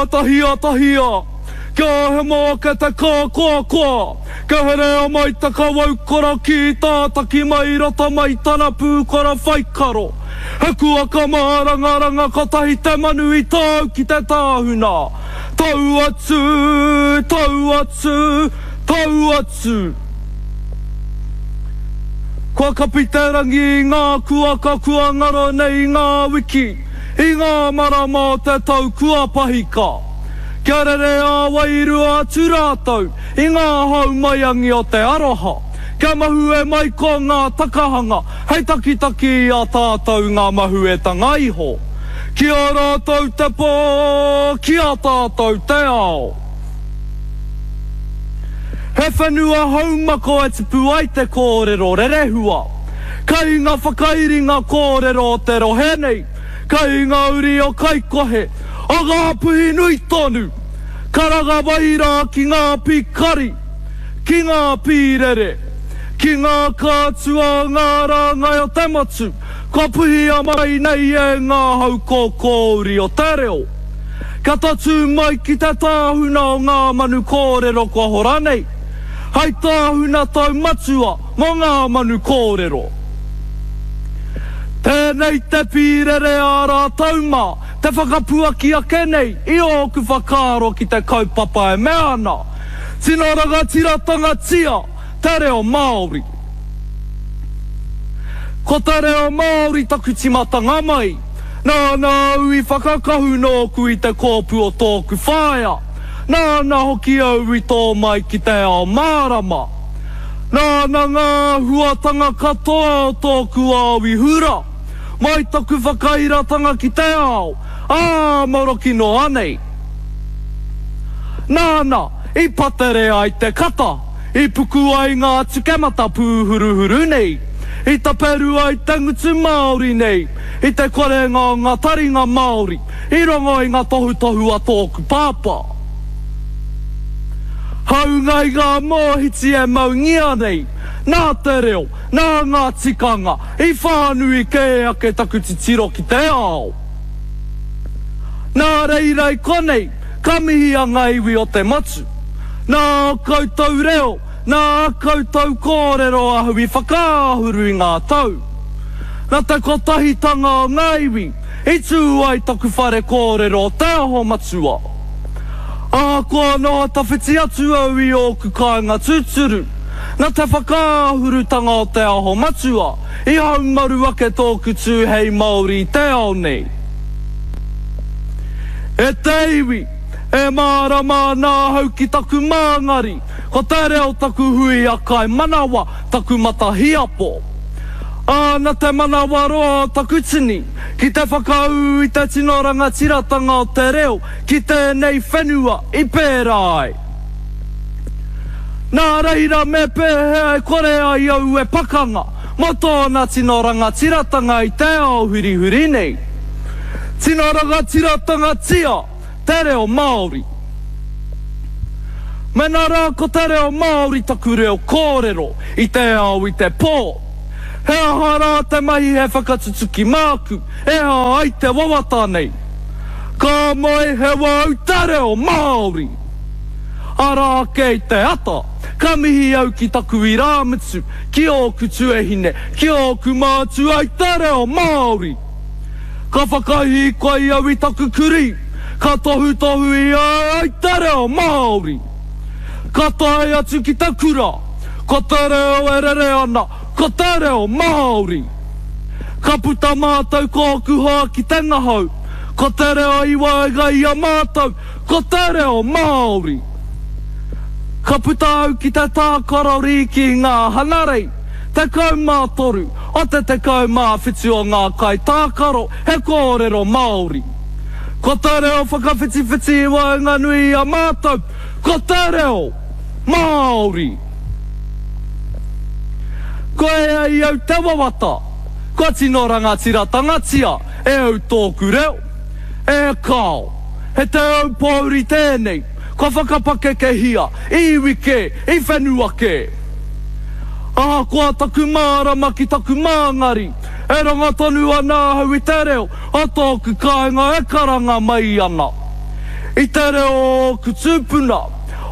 āta hiatahia, kia hemo ake te kākoakoa, kia herea mai te kawau korokī tātaki mai roto mai tana pūkoro whaikaro. He kuaka mārangaranga kotahi te manu i tau ki te tāhuna. Tau atu, tau atu, tau atu. Kua kapi te rangi i ngā kuaka kua ngaro nei i ngā wiki, i ngā marama o te tau kua pahika. Kia rere ā-wairua atu rātou i ngā hau maiangi o te aroha, kia mahue mai ko ngā takahanga hei takitaki i a tātou ngā mahuetanga iho. Ki a rātou te pō, ki a tātou te ao. He whenua haumako e tupu ai te kōrero rerehua. Kai ngā whakairinga kōrero o te rohe nei, kai ngā uri o Kaikohe, o Ngāpuhi nui tonu, karanga mai rā ki ngā pīkari, ki ngā pīrere, ki ngā kātua o ngā rāngai o te motu, kua puhia mai nei e ngā hau kōkōuri o te reo. Kia tatū mai ki te tāhuna o ngā manu kōrero kua hora nei, hai tāhuna taumatua mō ngā manu kōrero. Tēnei te pīrere a rātou mā te whakapuaki ake nei i ōku whakaaro ki te kaupapa e mea ana, Tino rangatiratanga-tia te reo Māori. Ko te reo Māori taku timatanga mai. Nāna au i whakakahu nōku i te kōpū o tōku whaea. Nāna hoki au i tō mai ki te ao mārama. Nāna ngā āhuatanga katoa o tōku ao i hura, mai taku whakairatanga ki te ao, ā, maroki noa nei. Nāna i patere ai te kata. I puku ai ngā tukemata pūhuruhuru nei, i taperu ai te ngutu Māori nei, i te korenga o ngā taringa Māori i rongo i ngā tohutohu a tōku pāpā. Hāunga i ngā mōhiti e maungia nei, nā te reo, nā ngā tikanga, i whānui kē ake taku titiro ki te ao. Nā reira i konei, Ka mihia ngā iwi o te motu. Nā ō koutou reo, nā ā koutou kōrero ahau i whakaahuru i ngā tau. Nā te kotahitanga o ngā iwi i tū ai taku whare kōrero o Te Aho Matua. Ahakoa noho tawhiti atu au i ōku kāinga tūturu, nā te whakaahurutanga o Te Aho Matua i haumaru ake tōku tū hei Māori i te ao nei. E te iwi, e mārama ana ahau ki taku māngari, ko te reo taku huia kai manawa, taku matahiapo. Ā, na te manawaroa o taku tini, ki te whakaū i te tino rangatiratanga o te reo ki tēnei whenua i pērā ai. Nā reira me pēhea e kore ai au e pakanga mō tōna tino rangatiratanga i te ao hurihuri nei? Tino rangatiratangatia te reo Māori. Mena rā ko te reo Māori taku reo kōrero i te ao i te pō, he aha rā te mahi he whakatutuki māku e hā ai te wawata nei? Ka moe he wau te reo Māori! Arā ake i te ata, ka mihi au ki taku irāmutu, ki ōku tuahine, ki ōku mātua i te reo Māori! Ka whakahīkoi au i taku kurī, ka tohutohu i a au te reo Māori. Ka tae atu ki te kura, ko te reo e rere ana, ko te reo Māori. Ka puta mātou ko ōku hoa ki te ngahau, ko te reo i waenga i a mātou, ko te reo Māori. Ka puta au ki te tākaro rīki i ngā hanarei. 13 o te 17 o ngā kaitākaro he kōrero Māori. Ko te reo whakawhitiwhiti i waenganui i a mātou, ko te reo Māori! Kua ea i au te wawata, kua tino rangatiratangatia e au tōku reo. E kāo, he te aupōuri tēnei, kua whakapakekehia i iwi kē, i whenua kē. Ahakoa taku mārama ki taku māngari, e rongo tonu ana ahau i te reo o tōku kāinga e karanga mai ana. I te reo o ōku tūpuna,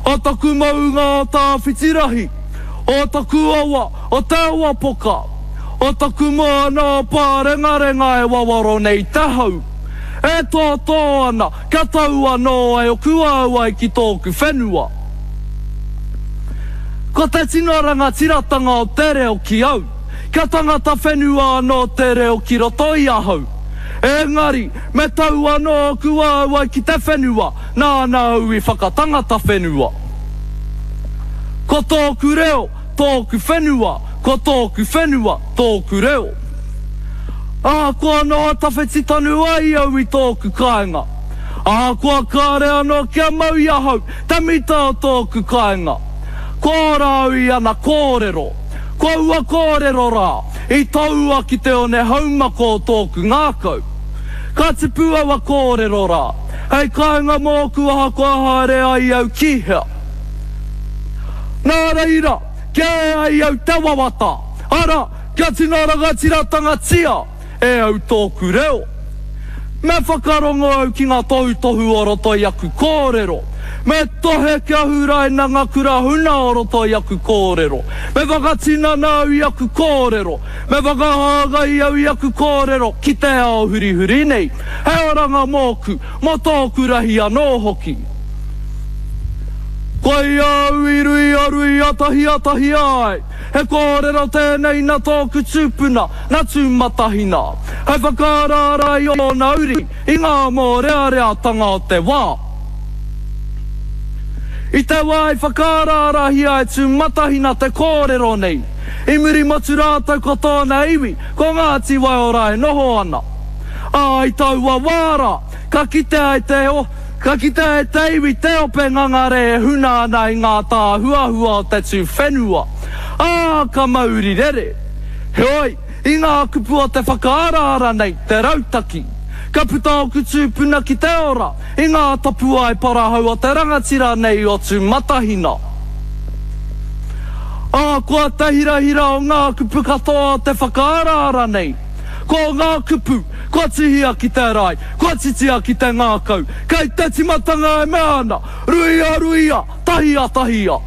o taku maunga o Tāwhitirahi, o taku awa o Te Awapoka, o taku moana o Pārengarenga e wawaro nei te hau, e tōtō ana kia tau anō ai oku āuai ki tōku whenua. Ko te tino rangatiratanga o te reo ki au, kia tangata whenua anō te reo ki roto i ahau. Engari, me tau anō ōku āuai ki te whenua, nāna au i whakatangata whenua. Ko tōku reo, tōku whenua, ko tōku whenua, tōku reo. Ahakoa noho tawhiti tonu ai au i tōku kāinga, ahakoa kāre anō kia mau i ahau te mita o tōku kāinga, kua ora au i ana kōrero, ko aua kōrero rā i toua ki te one haumako o tōku ngākau. Ka tipu aua kōrero rā, hei kāinga mōku ahakoa haere ai au ki hea. Nā reira, kia ea ai au te wawata, arā, kia tino rangatiratangatia e au tōku reo. Me whakarongo au ki ngā tohutohu o roto i aku kōrero. Me tohe kia huraina ngā kura huna o roto i aku kōrero. Me whakatinana au i aku kōrero. Me whakahāngai au i aku kōrero ki te ao hurihuri nei, hei oranga mōku, mō tōku rahi anō hoki. Koia au i ruia ruia tahia tahia ai. He kōrero tēnei nā tōku tūpuna, nā Tūmatahina, hei whakaaraara i ōna uri i ngā mōreareatanga o te wā. I te wā i whakaaraarahia e Tūmatahina te kōrero nei, i Murimotu rātou ko tōna iwi, ko Ngāti Waiora e noho ana. Ā, i taua wā rā, ka kitea e te Ka kitea e te iwi te ope ngangare e huna ana i ngā tāhuahua o te tū whenua, ā, ka mauri rere. Heoi, i ngā kupu o te whakaaraara nei, te rautaki, ka puta ōku tūpuna ki te ora i ngā tapuae parahau o te rangatira nei o Tūmatahina. Ahakoa te hirahira o ngā kupu katoa o te whakaaraara nei, ko ngā kupu kua tuhia ki te rae, kua titia ki te ngākau, kei te timatanga e mea ana, Ruia, ruia, tahia, tahia.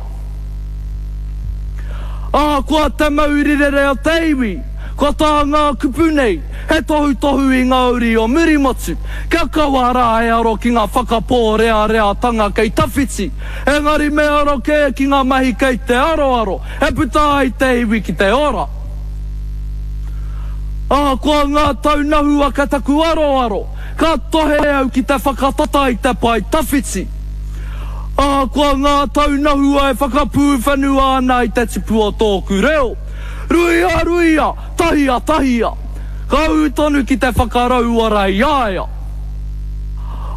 Ahakoa te mauri rere o te iwi, ko tā ngā kupu nei, he tohutohu i ngā uri o Murimotu, kia kaua rā e aro ki ngā whakapōreareatanga kei tawhiti, engari me aro kē ki ngā mahi kei te aroaro, e puta ai te iwi ki te ora. Ahakoa ngā taunahua ka taku aroaro, ka tohe au ki te whakatata i te pae tawhiti. Ahakoa ngā taunahua e whakapūwhenua ana i te tipu o tōku reo, ruia ruia, tahia tahia, ka ū tonu ki te whakarauora i a ia.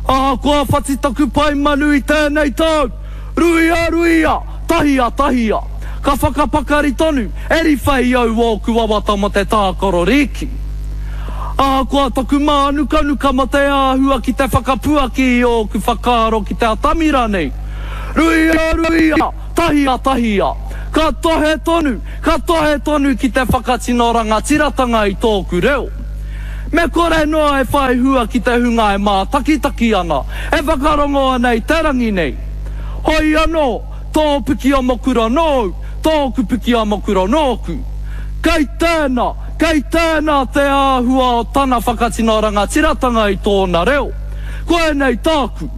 Ahakoa whati taku pae manu i tēnei tau, Ruia, ruia, tahia, tahia. Ka whakapakari tonu, e riwhai au ōku wawata mō te tākaro rīki. Ahakoa taku mānukanuka mō te āhua ki te whakapuaki i ōku whakaaro ki te atamira nei. Ruia, ruia, tahia, tahia. Ka tohe tonu, ka tohe tonu ki te whakatino rangatiratanga i tōku reo. Me kore noa e whai hua ki te hunga e mātakitaki ana, e whakarongo ana i te rangi nei. Hoi anō, tō piki amokura nōu, tōku piki amokura nōku. Kei tēnā, kei tēnā te āhua o tana whakatino rangatiratanga i tōna reo. Koinei tāku.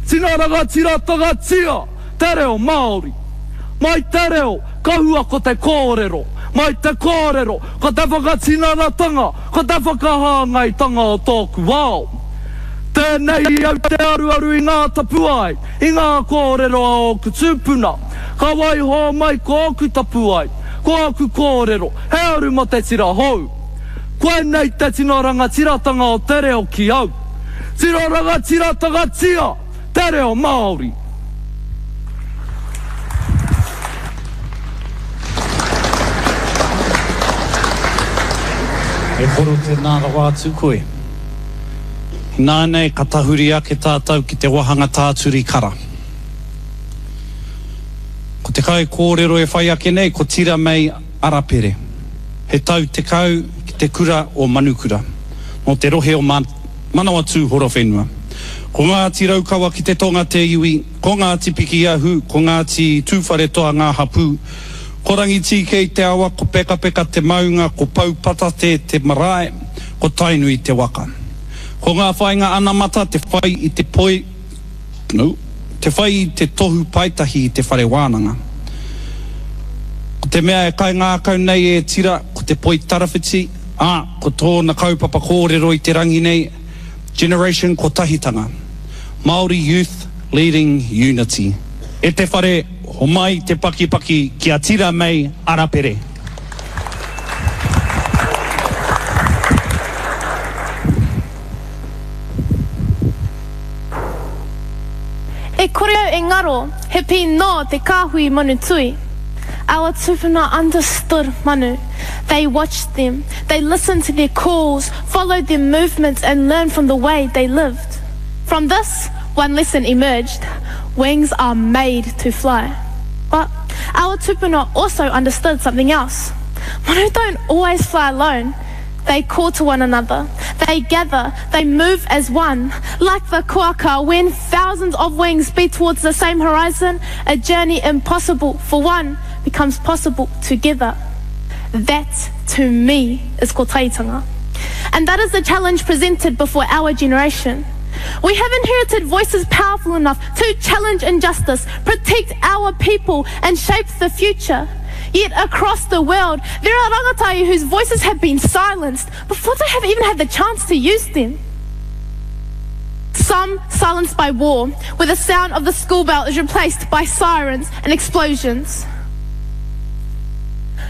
Tino rangatiratangatia te reo Māori. Mai te reo, ka hua ko te kōrero. Mai te kōrero, ko te whakatinanatanga, ko te whakahāngaitanga o tōku ao. Tēnei au te aruaru i ngā tapuae, i ngā kōrero a ōku tūpuna. Ka waiho mai ko ōku tapuae, ko āku kōrero, he aru mō te tira hou. Koinei te tino rangatiratanga o te reo ki au. Tino rangatiratangatia te reo Māori! E koro tēnā rawa atu koe. Ināianei ka tahuri ake tātou ki te wahanga tāturi kara. Ko te kaikōrero e whai ake nei ko Tira Mei Arapere. He tau 10 ki te kura o Manukura, nō te rohe o Manawatū Horowhenua. Ko Ngāti Raukawa ki te tonga te iwi, ko Ngāti Pikiahu, ko Ngāti Tūwharetoa ngā hapū. Ko Rangitīkei te awa, ko Pekapeka te maunga, ko Poupatate te marae, ko Tainui te waka. Ko ngā whāinga anamata te whai i te poi, no, te whai i te tohu paetahi i te whare wānanga. Ko te mea e kaingākau nei e Tira, ko te poi tarawhiti, ā, ko tōna kaupapa kōrero i te rangi nei, Generation Kotahitanga, Māori Youth Leading Unity. E te whare, homai te pakipaki ki a Tira May Arapere. E kore au e ngaro, he pī nō te kāhui manu tui. Our tupuna understood manu. They watched them, they listened to their calls, followed their movements and learned from the way they lived. From this, one lesson emerged. Wings are made to fly. But our tupuna also understood something else. Manu don't always fly alone. They call to one another. They gather. They move as one. Like the kuaka, when thousands of wings beat towards the same horizon, a journey impossible for one becomes possible together. That, to me, is kotahitanga. And that is the challenge presented before our generation. We have inherited voices powerful enough to challenge injustice, protect our people, and shape the future. Yet across the world, there are rangatahi whose voices have been silenced before they have even had the chance to use them. Some silenced by war, where the sound of the school bell is replaced by sirens and explosions.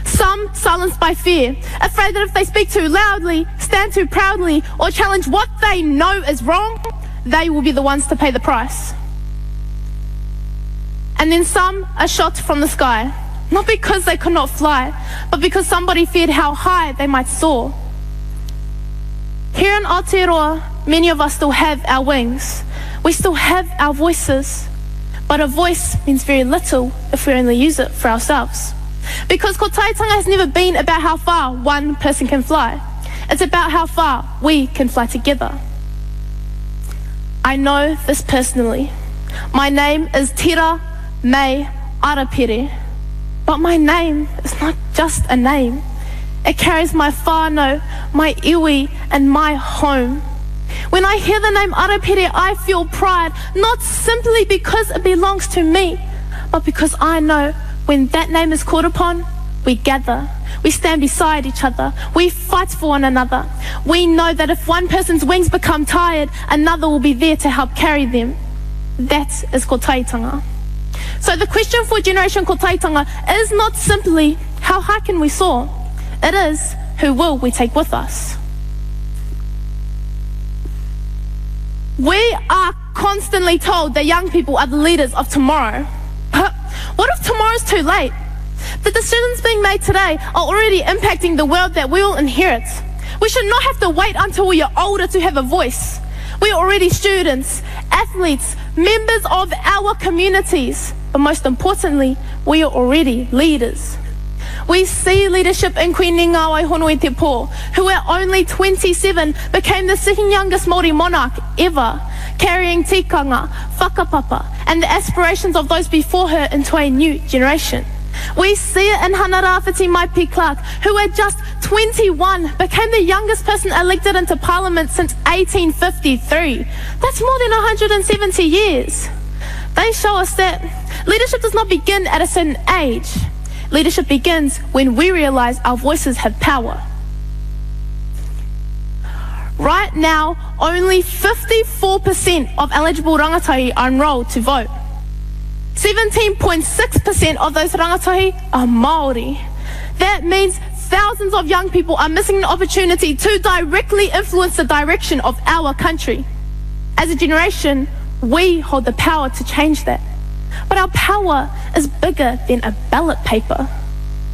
Some silenced by fear, afraid that if they speak too loudly, stand too proudly, or challenge what they know is wrong, they will be the ones to pay the price. And then some are shot from the sky, not because they could not fly, but because somebody feared how high they might soar. Here in Aotearoa, many of us still have our wings. We still have our voices. But a voice means very little if we only use it for ourselves. Because kotahitanga has never been about how far one person can fly. It's about how far we can fly together. I know this personally. My name is Tira May Arapere. But my name is not just a name. It carries my whānau, my iwi, and my home. When I hear the name Arapere, I feel pride, not simply because it belongs to me, but because I know when that name is called upon, we gather. We stand beside each other. We fight for one another. We know that if one person's wings become tired, another will be there to help carry them. That is kotahitanga. So the question for Generation Kotahitanga is not simply, how high can we soar? It is, who will we take with us? We are constantly told that young people are the leaders of tomorrow. But what if tomorrow's too late? The decisions being made today are already impacting the world that we will inherit. We should not have to wait until we are older to have a voice. We are already students, athletes, members of our communities. But most importantly, we are already leaders. We see leadership in Queen Ngawai Honoi Te Pō, who at only 27 became the second youngest Māori monarch ever, carrying tikanga, whakapapa, and the aspirations of those before her into a new generation. We see it in Hana Rāwhiti Maipi Clark, who at just 21 became the youngest person elected into Parliament since 1853. That's more than 170 years. They show us that leadership does not begin at a certain age. Leadership begins when we realize our voices have power. Right now, only 54% of eligible rangatahi are enrolled to vote. 17.6% of those rangatahi are Māori. That means thousands of young people are missing an opportunity to directly influence the direction of our country. As a generation, we hold the power to change that. But our power is bigger than a ballot paper.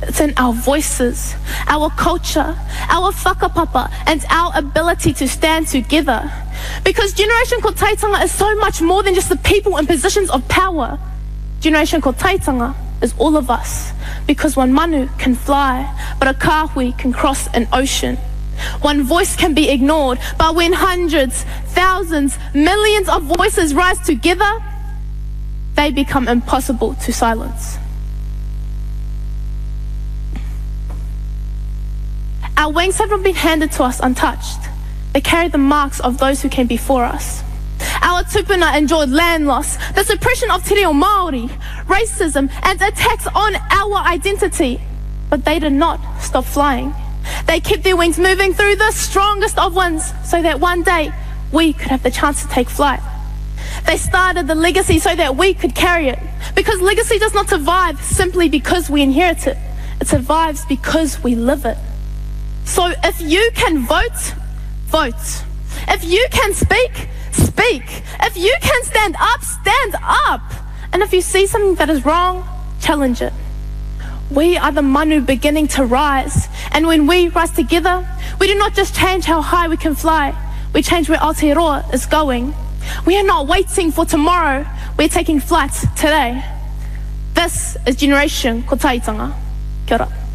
It's in our voices, our culture, our whakapapa, and our ability to stand together. Because Generation Kotahitanga is so much more than just the people in positions of power. Generation Kotahitanga is all of us. Because one manu can fly, but a kāhui can cross an ocean. One voice can be ignored, but when hundreds, thousands, millions of voices rise together, they become impossible to silence. Our wings have not been handed to us untouched. They carry the marks of those who came before us. Our tupuna endured land loss, the suppression of te reo Māori, racism, and attacks on our identity. But they did not stop flying. They kept their wings moving through the strongest of winds so that one day we could have the chance to take flight. They started the legacy so that we could carry it. Because legacy does not survive simply because we inherit it. It survives because we live it. So if you can vote, vote. If you can speak, speak. If you can stand up, stand up. And if you see something that is wrong, challenge it. We are the manu beginning to rise. And when we rise together, we do not just change how high we can fly, we change where Aotearoa is going. We are not waiting for tomorrow, we're taking flight today. This is Generation Kotahitanga. Kia ora.